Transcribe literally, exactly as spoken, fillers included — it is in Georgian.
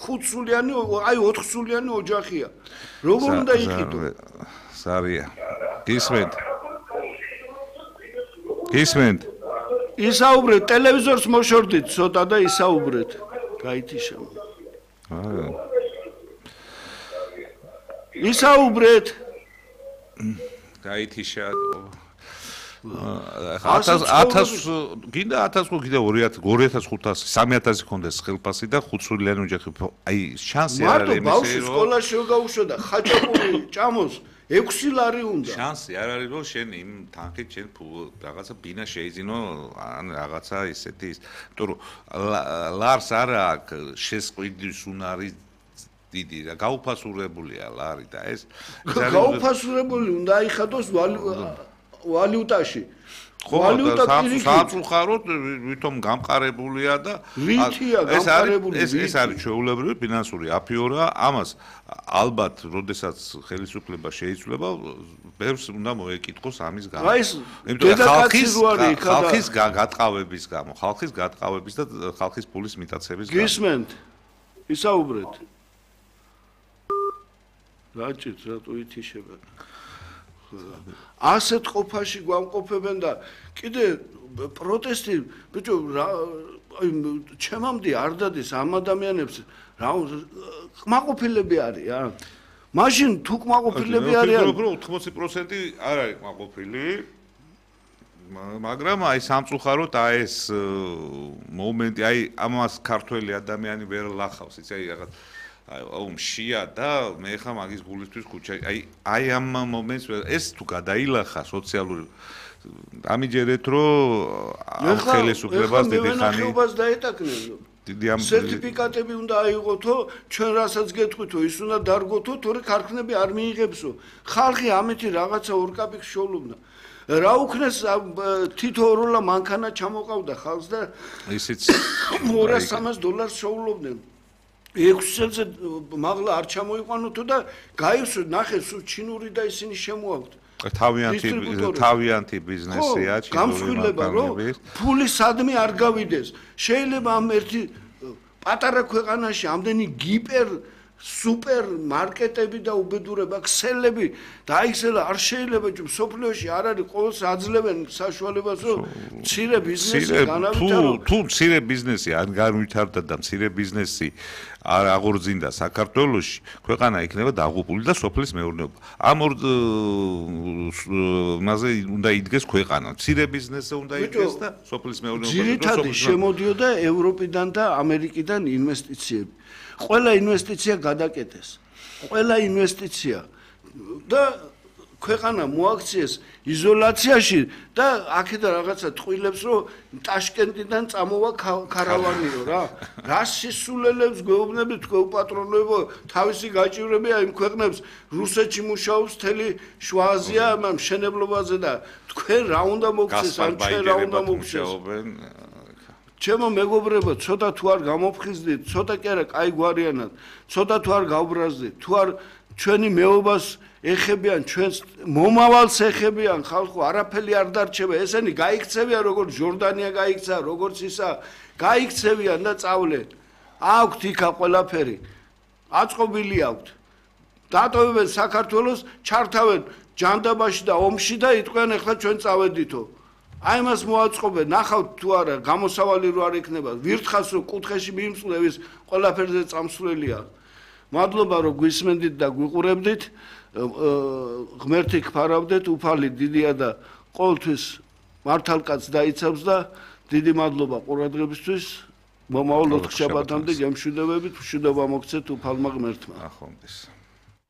ხუთსულიანი, აი ოთხსულიანი ოჯახია. როგორ უნდა იყიდო? ზარია. გისმენთ? გისმენთ? ისაუბრეთ, ტელევიზორს მოშორდით ცოტა და ისაუბრეთ. გაითიშა. აა. ისაუბრეთ. გაითიშა. ათას გინდა ათას ხო გინდა ორი ათას ორი ათას ხუთასი სამი ათასი ქონდეს ხელფასი და ხუთსულიანი ოჯახი აი შანსი არ არის მარტო ბავშვი სკოლაში რო გაუშვა და ხაჭაპური ჭამოს ექვსი ლარი უნდა შანსი არ არის რომ შენ იმ თანხით შენ რაღაცა ბინა შეიძინო ან რაღაცა ისეთი ის იმიტომ რომ ლარს არ აქვს შესყიდვის უნარი დიდი და გაუფასურებულია ლარი და ეს გაუფასურებული უნდა აიხადოს ვალუტაში. ვალუტა სამწუხაროდ ვითომ გამყარებულია და ეს არის ეს არის ჩვეულებრივი ფინანსური აფიორა, ამას ალბათ, როდესაც ხელისუფლება შეიცვლება, ბევრს უნდა მოეკითხოს ამის გამო. იმიტომ ხალხის ხალხის გატყავების გამო, ხალხის გატყავების და ხალხის ფულის მიტაცების გამო. გისმენთ? ისაუბრეთ. რაჭით, რატო ითიშება? ასეთ ყოფაში გვამყოფებენ და კიდე პროტესტი ბიჭო აი ჩემამდე არ დადის ამ ადამიანებს რა კმაყოფილები არის რა მაშინ თუ კმაყოფილები არიან ოთხმოცი პროცენტი არ არის კმაყოფილი მაგრამ აი სამწუხაროდ აი ეს მომენტი აი ამას ქართველი ადამიანი ვერ ლახავს იცი აი რაღაც აუ მშია და მე ხა მაგის გულისთვის ქუჩა აი აი ამ მომენტს ეს თუ გადაილახა სოციალური ამიჯერეთ რომ ხელისუფლებას დიდი ხანი ხეობას დაეტაკნენ დიდი ამ სერტიფიკატები უნდა აიღოთო ჩვენ რასაც გეტყვითო ის უნდა დარგოთო თორე ქარხნები არ მიიღებსო ხალხი ამითი რაღაცა ორკაპიკს შოულობდა რა უქნეს თითო როლა მანქანა ჩამოყავდა ხალხს და ისიც ორას სამას დოლარს შოულობდნენ ექვსზე მაღლა არ ჩამოიყვანოთო და გაივსო ნახე სულ ჩინური და ისინი შემოაქვთ თავიანთი თავიანთი ბიზნესია ჩინური გამსხვილება რომ ფული სადმე არ გავიდეს შეიძლება ამ ერთი პატარა ქვეყანაში ამდენი გიპერ სუპერ მარკეტები და უბედურება ქსელები დაიხსელა არ შეიძლება სოფლიოში არ არის ყოველს აძლევენ საშუალებას რომ მცირე ბიზნესი განავითარო თუ მცირე ბიზნესი არ განვითარდა და მცირე ბიზნესი არ აღორძინდა საქართველოში ქვეყანა იქნება დაღუპული და სოფლის მეურნეობა ამ ორ მასე უნდა იდგეს ქვეყანა მცირე ბიზნესზე უნდა იდგეს და სოფლის მეურნეობა ძირითადად შემოდიოდა ევროპიდან და ამერიკიდან ინვესტიციები ყველა ინვესტიცია გადაკეტეს. ყველა ინვესტიცია და ქვეყანა მოაქციეს იზოლაციაში და აქედა რაღაცა ტყვილებს რომ ტაშკენტიდან წამოვა ქარავანიო რა. რა სისულელებს გვეუბნებით გვეუპატრონებო თავისი გაჭირვებია იმ ქვეყნებს რუსეთში მუშაობს თელი შუა აზია ამ მშენებლობაზე და თქვენ რა უნდა მოგცეს ან ჩვენ რა უნდა მოგცეს. ჩემო მეგობრებო, ცოტა თუ არ გამოფხიზდით, ცოტა კი არა, კაი გვარიანად, ცოტა თუ არ გავბრაზდით, თუ არ ჩვენი მეობას ეხებიან, ჩვენს მომავალს ეხებიან, ხალხო არაფერი არ დარჩება, ესენი გაიქცევიან, როგორც ჟორდანია გაიქცა, როგორც ისა, გაიქცევიან და წავლენ. აქვთ იქა ყველაფერი. აწყობილი აქვთ. დატოვებენ საქართველოს, ჩართავენ ჯანდაბაში და ომში და იტყვიან, ეხლა ჩვენ წავედითო. აი მას მოაწყობენ, ნახავთ თუ არა, გამოსავალი რო არ იქნება, ვირთხას რო კუთხეში მიიმსვლევის, ყველაფერზე წამსვლელია. მადლობა რომ გვისმენდით და გვიყურებდით, ღმერთი გფარავდეთ, უფალი დიდია და ყოველთვის მართალკაც დაიცავს და დიდი მადლობა ყურადღებისთვის. მომავალ ოთხ შაბათამდე გემშვიდობებით, მშვიდობა მოგცეთ უფალმა ღმერთმა. ახონდეს.